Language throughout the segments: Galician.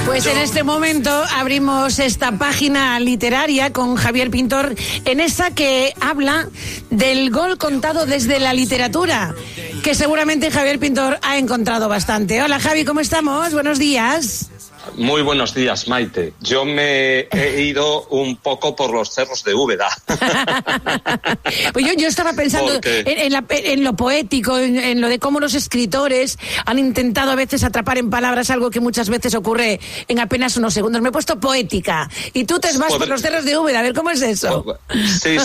Pues en este momento abrimos esta página literaria con Javier Pintor, en esa que habla del gol contado desde la literatura, que seguramente Javier Pintor ha encontrado bastante. Hola Javi, ¿cómo estamos? Buenos días. Muy buenos días, Maite. Yo me he ido un poco por los cerros de Úbeda. Pues yo estaba pensando en lo poético, en lo de cómo los escritores han intentado a veces atrapar en palabras algo que muchas veces ocurre en apenas unos segundos. Me he puesto poética y tú te vas por los cerros de Úbeda. A ver, ¿cómo es eso? Sí,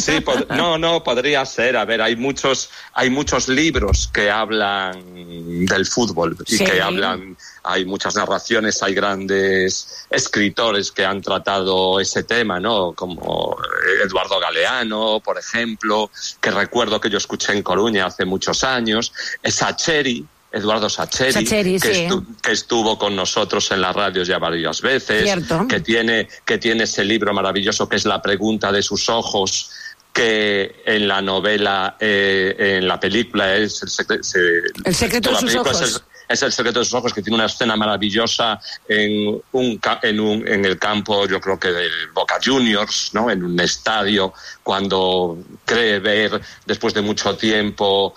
no, podría ser. A ver, hay muchos libros que hablan del fútbol y que hablan... Hay muchas narraciones, hay grandes escritores que han tratado ese tema, ¿no? Como Eduardo Galeano, por ejemplo, que recuerdo que yo escuché en Coruña hace muchos años. Eduardo Sacheri, que estuvo con nosotros en las radios ya varias veces. Cierto. que tiene ese libro maravilloso que es La pregunta de sus ojos, que en la novela, en la película es El secreto de sus ojos. Es El secreto de sus ojos, que tiene una escena maravillosa en el campo, yo creo que del Boca Juniors, ¿no? En un estadio, cuando cree ver, después de mucho tiempo,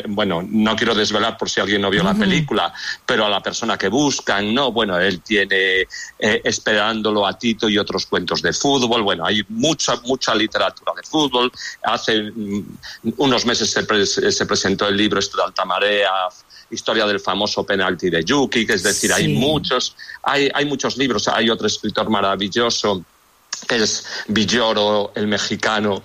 bueno, no quiero desvelar por si alguien no vio la película, pero a la persona que buscan, ¿no? Bueno, él tiene esperándolo a Tito y otros cuentos de fútbol. Bueno, hay mucha literatura de fútbol. Hace unos meses se presentó el libro de Alta Marea, historia del famoso penalti de Yuki, que es decir, hay muchos libros. Hay otro escritor maravilloso que es Villoro, el mexicano,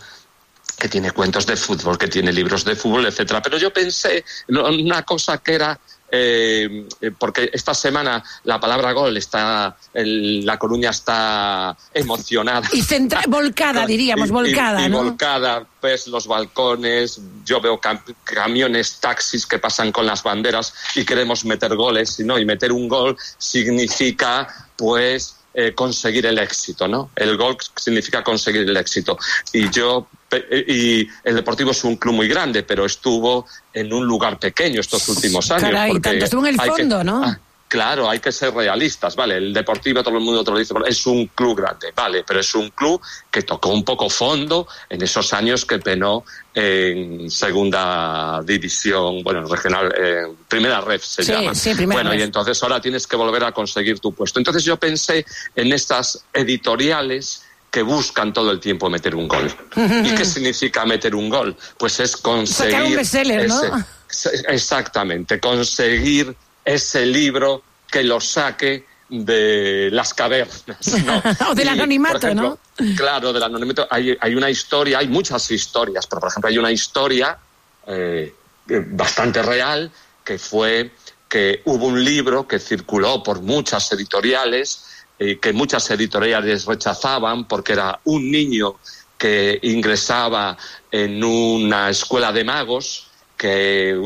que tiene cuentos de fútbol, que tiene libros de fútbol, etcétera. Pero yo pensé en una cosa que era porque esta semana la palabra gol La Coruña está emocionada y volcada, diríamos, volcada, ¿no? Volcada, pues los balcones, yo veo camiones, taxis que pasan con las banderas y queremos meter goles, ¿no? Y meter un gol significa, pues, conseguir el éxito, ¿no? El gol significa conseguir el éxito. Y el Deportivo es un club muy grande, pero estuvo en un lugar pequeño estos últimos años. Caray, tanto estuvo en el fondo, ¿no? Claro, hay que ser realistas, ¿vale? El Deportivo, todo el mundo te lo dice, es un club grande, ¿vale? Pero es un club que tocó un poco fondo en esos años que penó en segunda división, bueno, regional, primera ref se llama. Sí, primera ref. Y entonces ahora tienes que volver a conseguir tu puesto. Entonces yo pensé en estas editoriales que buscan todo el tiempo meter un gol. ¿Y qué significa meter un gol? Pues es conseguir... Sacar un bestseller, ¿no? Exactamente, conseguir ese libro que lo saque de las cavernas, ¿no? O del anonimato, por ejemplo, ¿no? Claro, del anonimato. Hay una historia, hay muchas historias, pero por ejemplo hay una historia bastante real, que fue que hubo un libro que circuló por muchas editoriales, que muchas editoriales rechazaban porque era un niño que ingresaba en una escuela de magos, que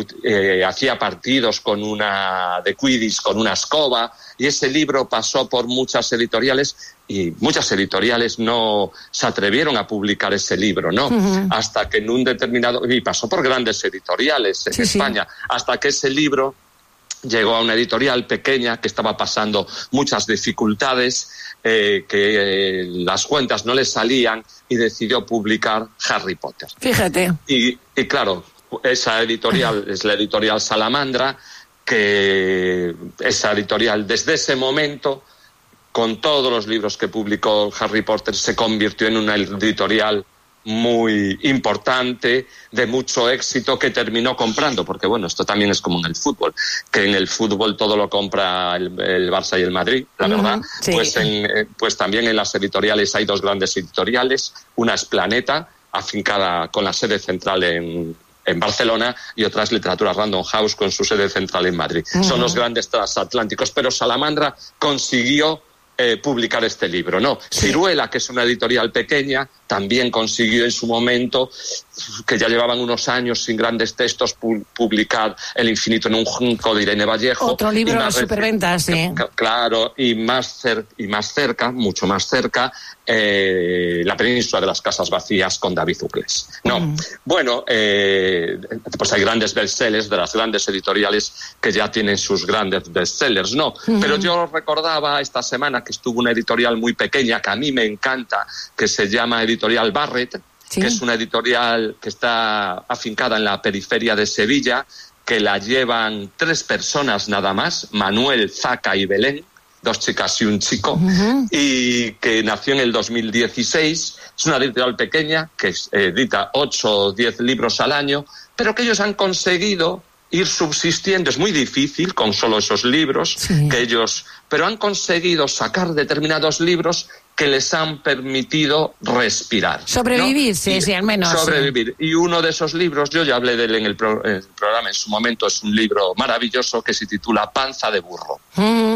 hacía partidos de Quidditch con una escoba, y ese libro pasó por muchas editoriales y muchas editoriales no se atrevieron a publicar ese libro, ¿no? Hasta que en un determinado... Y pasó por grandes editoriales en España, hasta que ese libro llegó a una editorial pequeña que estaba pasando muchas dificultades, que las cuentas no le salían, y decidió publicar Harry Potter. Fíjate. Y claro, esa editorial es la editorial Salamandra, que esa editorial desde ese momento, con todos los libros que publicó Harry Potter, se convirtió en una editorial muy importante, de mucho éxito, que terminó comprando, porque bueno, esto también es como en el fútbol, que en el fútbol todo lo compra el Barça y el Madrid, la verdad. Sí. Pues también en las editoriales hay dos grandes editoriales, una es Planeta, afincada con la sede central en Barcelona, y otra es Literatura Random House con su sede central en Madrid. Son los grandes transatlánticos, pero Salamandra consiguió publicar este libro, ¿no? Sí. Ciruela, que es una editorial pequeña, también consiguió en su momento, que ya llevaban unos años sin grandes textos, publicar El infinito en un junco de Irene Vallejo. Otro libro de superventas, sí. Claro, y más cerca, mucho más cerca, La península de las casas vacías con David Uclés. Bueno, pues hay grandes bestsellers de las grandes editoriales que ya tienen sus grandes bestsellers, ¿no? Pero yo recordaba esta semana que estuvo una editorial muy pequeña que a mí me encanta, que se llama Editorial Barrett, que es una editorial que está afincada en la periferia de Sevilla, que la llevan 3 personas nada más, Manuel, Zaca y Belén, 2 chicas y un chico, y que nació en el 2016. Es una editorial pequeña que edita 8 o 10 libros al año, pero que ellos han conseguido ir subsistiendo. Es muy difícil con solo esos libros, pero han conseguido sacar determinados libros que les han permitido respirar. Sobrevivir, ¿no? Sí, al menos. Sobrevivir. Sí. Y uno de esos libros, yo ya hablé de él en el programa en su momento, es un libro maravilloso que se titula Panza de burro.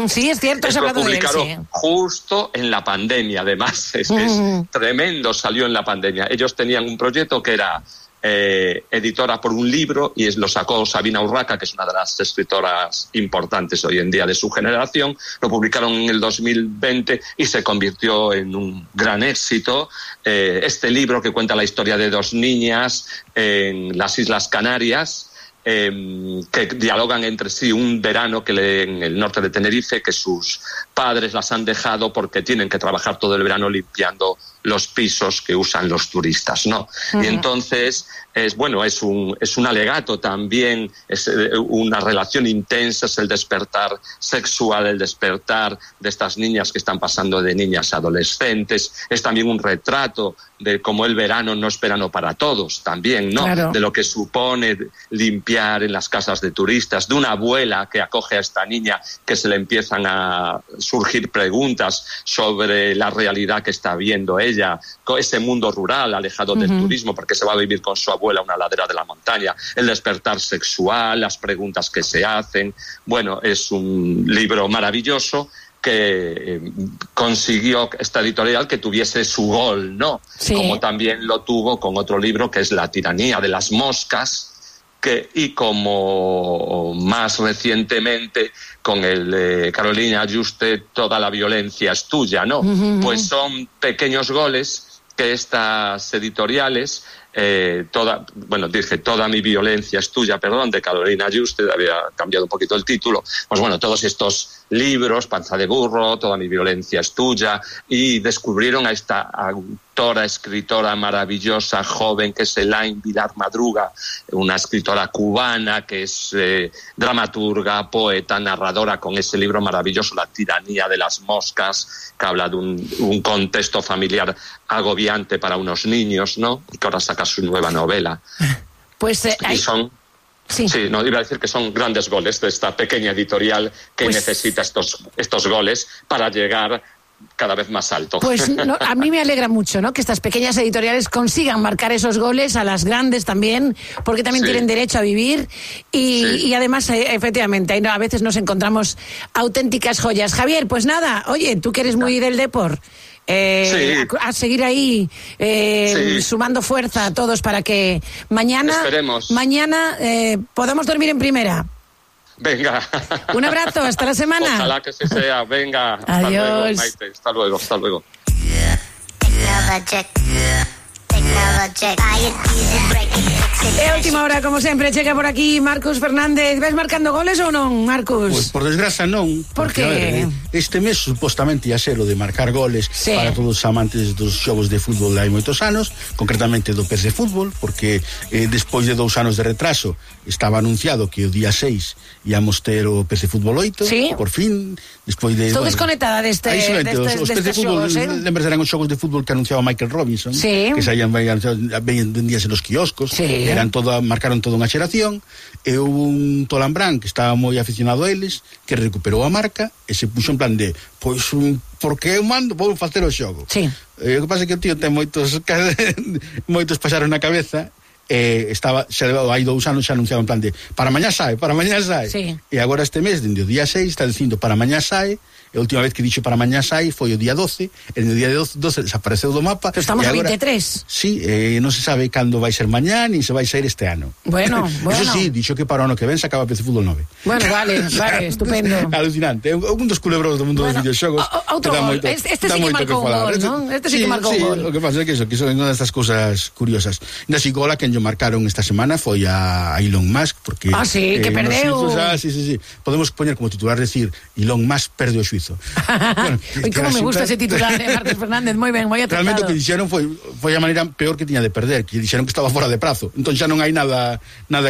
Sí, es cierto, lo publicaron justo en la pandemia, además. Es que es tremendo, salió en la pandemia. Ellos tenían un proyecto que era editora por un libro, y lo sacó Sabina Urraca, que es una de las escritoras importantes hoy en día de su generación. Lo publicaron en el 2020 y se convirtió en un gran éxito. Este libro, que cuenta la historia de 2 niñas en las Islas Canarias, que dialogan entre sí un verano en el norte de Tenerife, que sus padres las han dejado porque tienen que trabajar todo el verano limpiando los pisos que usan los turistas, ¿no? Y entonces es un alegato también, es una relación intensa, es el despertar sexual, el despertar de estas niñas que están pasando de niñas a adolescentes. Es también un retrato de cómo el verano no es verano para todos, también, ¿no? Claro. De lo que supone limpiar en las casas de turistas, de una abuela que acoge a esta niña, que se le empiezan a surgir preguntas sobre la realidad que está viendo ella, ese mundo rural alejado del turismo, porque se va a vivir con su abuela a una ladera de la montaña, el despertar sexual, las preguntas que se hacen. Bueno, es un libro maravilloso que consiguió esta editorial que tuviese su gol, ¿no? Sí. Como también lo tuvo con otro libro que es La tiranía de las moscas, y como más recientemente con el de Carolina Juste, Toda la violencia es tuya, ¿no? Pues son pequeños goles que estas editoriales, Toda mi violencia es tuya, de Carolina Juste, había cambiado un poquito el título. Pues bueno, todos estos libros, Panza de burro, Toda mi violencia es tuya, y descubrieron a esta autora, escritora maravillosa, joven, que es Elaine Vilar Madruga, una escritora cubana que es dramaturga, poeta, narradora, con ese libro maravilloso, La tiranía de las moscas, que habla de un contexto familiar agobiante para unos niños, ¿no? Y que ahora saca su nueva novela. Pues y son... Sí, no, iba a decir que son grandes goles de esta pequeña editorial que necesita estos goles para llegar cada vez más alto. Pues a mí me alegra mucho, ¿no?, que estas pequeñas editoriales consigan marcar esos goles, a las grandes también, porque también tienen derecho a vivir y además, efectivamente, a veces nos encontramos auténticas joyas. Javier, pues nada, oye, tú que eres muy del deporte, a seguir ahí sumando fuerza a todos para que mañana podamos dormir en primera. Venga. Un abrazo, hasta la semana. Ojalá que se sea. Venga. Adiós. Hasta luego, Maite. Hasta luego. E última hora, como sempre, chega por aquí Marcus Fernández. Ves marcando goles ou non, Marcus? Pois por desgraza non. Por que? Este mes supostamente ia ser o de marcar goles para todos os amantes dos xogos de fútbol hai moitos anos, concretamente do PES de fútbol, porque despois de 2 anos de retraso estaba anunciado que o día 6 íamos ter o PES de fútbol 8, por fin, despois de... Estou desconectada destes xogos, lembras, eran os xogos de fútbol que anunciaba Michael Robinson, que saían vendíase nos quioscos, marcaron toda unha xeración, e houve un Tolambrán que estaba moi aficionado a eles, que recuperou a marca e se puxo en plan de, porque eu mando, vou facer o xogo. O que pasa é que o tío ten moitos pasaron na cabeza hai 2 anos xa anunciado en plan de para mañá sae, sí. E agora este mes, dende o día 6 está dicindo para mañá sae. A última vez que dixo para mañá sai foi o día 12, e no día 12 desapareceu do mapa. Pero estamos a agora, 23. Sí, non se sabe cando vai ser mañá, nin se vai sair este ano. Bueno. Eso sí, dixo que para o ano que ven se acaba PC Fútbol 9. Bueno, vale, estupendo. Alucinante, é un dos culebros do mundo dos videoxogos. Outro gol, este sí que marcou un gol, non? Este sí que marcou un gol. O que pasa é que son unha destas cousas curiosas. Nasi gola que yo marcaron esta semana foi a Elon Musk, porque... sí, que perdeu. Sí. Podemos poñer como titular decir Elon Musk perde o xuizo. Bueno, como me gusta ese titular, Marcos Fernández, moi ben, moi acertado. Realmente o que dixeron foi a maneira peor que tiña de perder, que dixeron que estaba fora de prazo. Entón xa non hai nada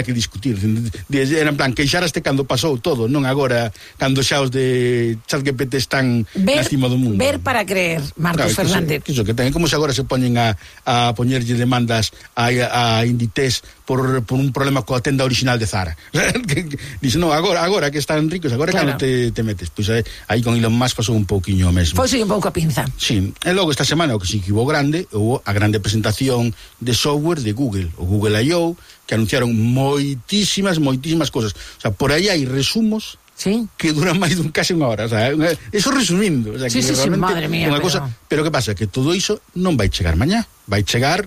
que discutir. Era en plan, queixaraste cando pasou todo, non agora cando xa os de ChatGPT están na cima do mundo. Ver para creer, Marcos Fernández. Que ten como se agora se poñen a poñerlle demandas a Inditex por un problema coa tenda original de Zara. Dice, non, agora que están ricos, agora claro. Cando te metes. Pois aí con Elon Musk pasou un pouquiño mesmo. Foi un pouco a pinza. Sí, e logo esta semana o que sí que hubo grande, houve a grande presentación de software de Google, o Google I.O., que anunciaron moitísimas cosas. O sea, por aí hai resumos que duran máis dun case unha hora, o sea, eso resumindo, o sea, sí, madre mía, pero que pasa, que todo iso non vai chegar mañá, vai chegar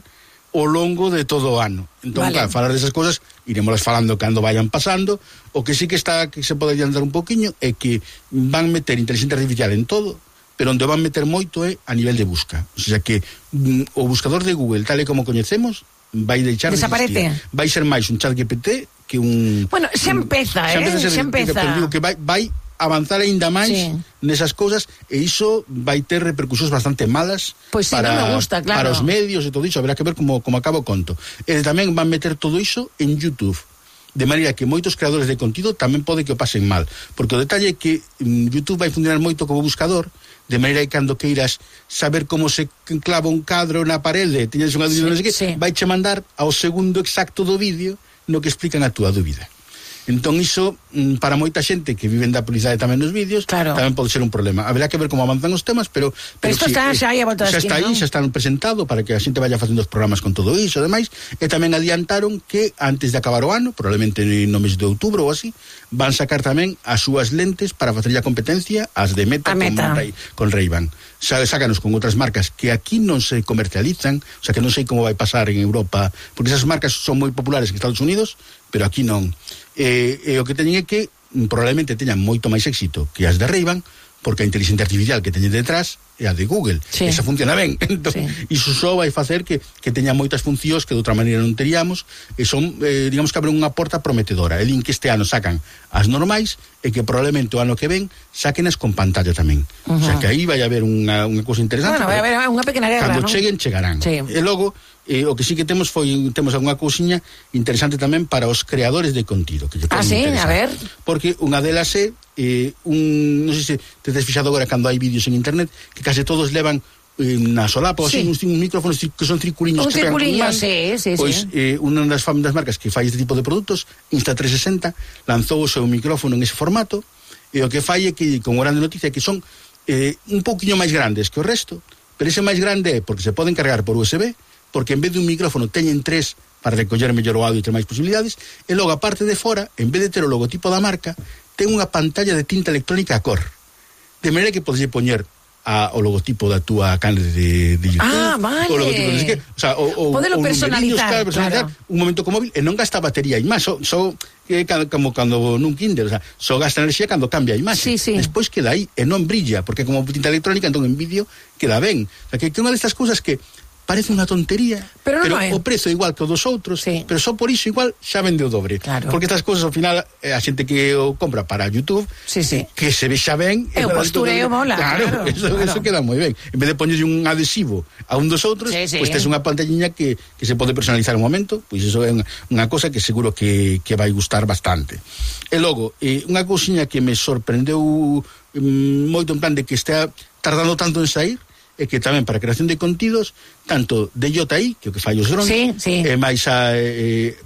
ao longo de todo o ano. Entón, vale. Claro, falar desas cousas iremos falando cando vayan pasando. O que sí que se pode adiantar un poquinho é que van meter inteligencia artificial en todo, pero onde van meter moito é a nivel de busca. O sea que o buscador de Google, tal e como coñecemos, vai deixar desaparece. Vai ser máis un ChatGPT que un... Bueno, xa empeza. Pero digo que vai avanzar aínda máis nesas cousas, e iso vai ter repercusións bastante malas para, non me gusta, claro. Para os medios e todo iso. Haberá que ver como acaba o conto. E tamén van meter todo iso en YouTube, de maneira que moitos creadores de contido tamén pode que o pasen mal, porque o detalle é que YouTube vai funcionar moito como buscador, de maneira que cando queiras saber como se clava un cadro na parede, tiñas unha dúbida, non sei que, vai che mandar ao segundo exacto do vídeo no que explican a túa dúbida. Entón iso, para moita xente que viven da publicidade tamén nos vídeos, claro. Tamén pode ser un problema. Haberá que ver como avanzan os temas, pero isto está xa aí a volta da esquina, xa está aí, xa están presentado para que a xente vaya facendo os programas con todo iso e demais, e tamén adiantaron que antes de acabar o ano, probablemente no mes de outubro ou así, van sacar tamén as súas lentes para facer a competencia as de Meta con Ray-Ban. Sácanos con outras marcas que aquí non se comercializan, o sea que non sei como vai pasar en Europa, porque esas marcas son moi populares en Estados Unidos, pero aquí non. E o que teñen é que probablemente teñan moito máis éxito que as de Ray-Ban, porque a inteligencia artificial que teñen detrás é a de Google. Esa funciona ben. Entón, iso só vai facer que teña moitas funcións que de outra maneira non teríamos, e son, digamos que abren unha porta prometedora. E din que este ano sacan as normais, e que probablemente o ano que ven saquenas con pantalla tamén. O sea que aí vai haber unha cousa interesante. Bueno, vai haber unha pequena guerra, cando ¿no? cheguen, chegarán. E logo, o que sí que temos algunha cousiña interesante tamén para os creadores de contido, que a ver. Porque unha delas é non sei se te has fixado agora cando hai vídeos en internet que case todos levan na solapa ou así, uns micrófonos que son circuliños que pegan con man. Pois unha das marcas que fai este tipo de produtos, Insta360, lanzou o seu micrófono en ese formato, e o que fai é que, como grande noticia, que son un pouquiño máis grandes que o resto, pero ese máis grande é porque se poden cargar por USB, porque en vez de un micrófono teñen 3 para recoller mellor o audio e ter máis posibilidades, e logo a parte de fora, en vez de ter o logotipo da marca, ten unha pantalla de tinta electrónica a cor, de maneira que podes poñer o logotipo da túa canle de YouTube, vale. O logotipo, non sei que, o sea, podelo personalizar, claro. Un momento con móvil, e non gasta batería e máis, como cando nun Kindle, o sea, só gasta enerxía cando cambia a imaxe. Despois queda aí e non brilla, porque como tinta electrónica, entón en vídeo queda ben. O sea, que unha destas cousas que parece unha tontería, pero o prezo é igual que o dos outros, pero só por iso igual xa vende o dobre, porque estas cousas ao final a xente que o compra para YouTube que se vexa ben e o postureo mola, claro. Eso queda moi ben, en vez de poñerlle un adhesivo a un dos outros, pois tes unha pantalliña que se pode personalizar un momento, pois iso é unha cosa que seguro que vai gustar bastante. E logo, unha cousiña que me sorprendeu moito en plan de que está tardando tanto en sair, é que tamén para a creación de contidos, tanto de DJI, que o que fai os drones, e máis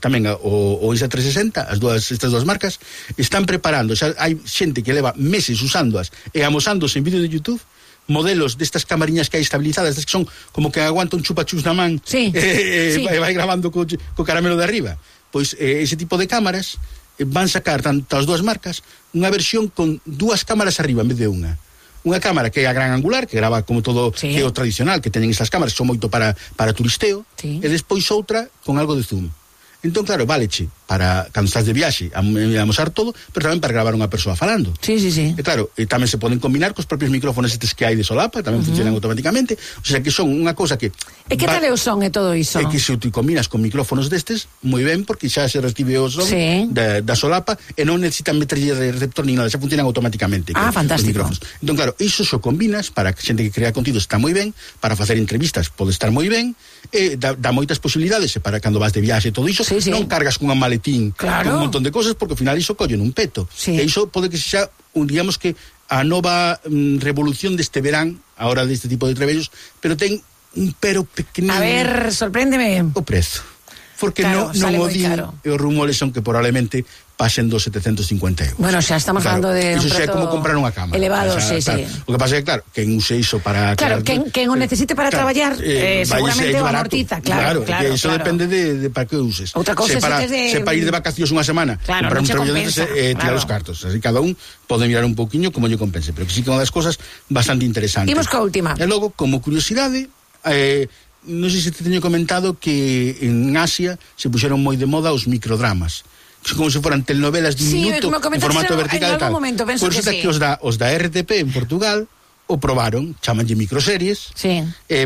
tamén o Insta360, estas dúas marcas, están preparando, xa hai xente que leva meses usándoas e amosándose en vídeo de YouTube modelos destas camariñas que hai estabilizadas, que son como que aguanta un chupachus na man, sí. vai gravando co caramelo de arriba. Pois ese tipo de cámaras van sacar tanto as dúas marcas unha versión con dúas cámaras arriba en vez de unha cámara que é a gran angular, que grava como todo, que é o tradicional, que teñen esas cámaras, que son moito para turisteo, e despois outra con algo de zoom. Entón, claro, váleche para cando estás de viaxe a mostrar todo, pero tamén para gravar unha persoa falando. Sí. E claro, tamén se poden combinar cos propios micrófonos estes que hai de solapa, tamén funcionan automáticamente, o sea que son unha cosa que... E que tal é o son e todo iso? É que se te combinas con micrófonos destes, moi ben, porque xa se recibe o son da solapa e non necesitan meterlle de receptor ni nada, xa funcionan automáticamente. Fantástico. Entón, claro, iso xo combinas para que xente que crea contido está moi ben, para facer entrevistas pode estar moi ben, e dá moitas posibilidades, e para cando vas de viaxe e todo iso, non cargas cunha maletín con un montón de cosas, porque ao final iso collen un peto. E iso pode que xa, digamos que a nova revolución deste verán, a hora deste tipo de trebellos, pero ten un pero pequenino. A ver, sorpréndeme. O prezo. Porque non o din, e os rumores son que probablemente pasen dos 750 euros. Bueno, xa estamos falando de un prezo... Iso xa é como comprar unha cámara. Elevado, sí. O que pasa é que, claro, quen use iso para... Claro, quen o necesite para traballar, seguramente o amortiza. Claro, iso depende de para que uses. Outra cousa se para ir de vacacións unha semana, comprar un traballador, tirar os cartos. Así cada un pode mirar un pouquiño como lle compense, pero que sí que é unha das cosas bastante interesantes. Imos coa última. E logo, como curiosidade... non sei se te teño comentado que en Asia se puxeron moi de moda os microdramas, como se foran telenovelas de un minuto en formato vertical e tal. Por eso que os da RTP en Portugal o probaron, chamanlle microseries,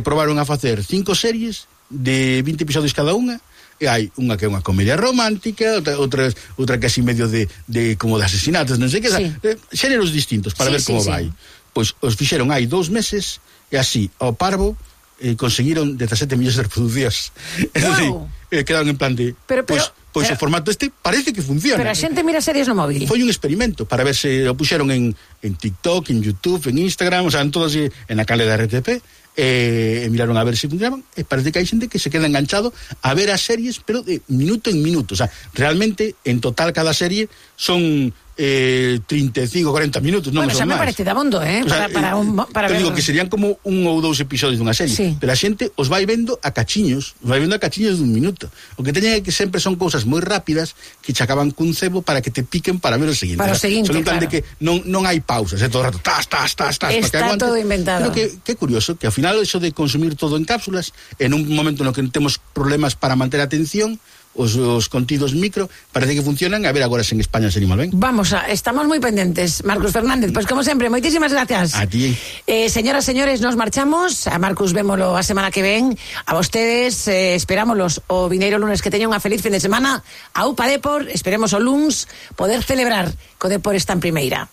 probaron a facer 5 series de 20 episodios cada unha, e hai unha que é unha comedia romántica, outra que así medio de como de asesinatos, non sei que, xéneros distintos para ver como vai. Pois os fixeron hai 2 meses e así, ao parvo conseguiron 17 millones de reproduccións. Wow. Quedaron en plan de... Pois o formato este parece que funciona. Pero a xente mira series no móvil. Foi un experimento para ver se o puxeron en TikTok, en YouTube, en Instagram, o sea, en todas, en a canle da RTP, e miraron a ver se funcionaban, e parece que hai xente que se queda enganchado a ver as series, pero de minuto en minuto. O sea, realmente, en total, cada serie son 35, 40 minutos, non son máis. Bueno, xa me parece dabondo, o sea, para ver... digo que serían como 1 ou 2 episodios dunha serie, pero a xente os vai vendo a cachiños dun minuto. O que teñen é que sempre son cousas moi rápidas que che acaban cun cebo para que te piquen para ver o seguinte. Para o seguinte, son un plan de que non hai pausas, todo o rato, tas, está todo inventado. Pero que curioso, que ao final eso de consumir todo en cápsulas, en un momento no que temos problemas para manter a atención, os contidos micro parece que funcionan, a ver agora se en España se anima ben. Estamos moi pendentes, Marcus Fernández, pois como sempre, moitísimas gracias. A ti. Señoras, señores, nos marchamos. A Marcus vémolo a semana que ven. A vostedes esperámoslos o vineiro lunes. Que teñan unha feliz fin de semana. A UPA Depor, esperemos o luns poder celebrar co Depor está en primeira.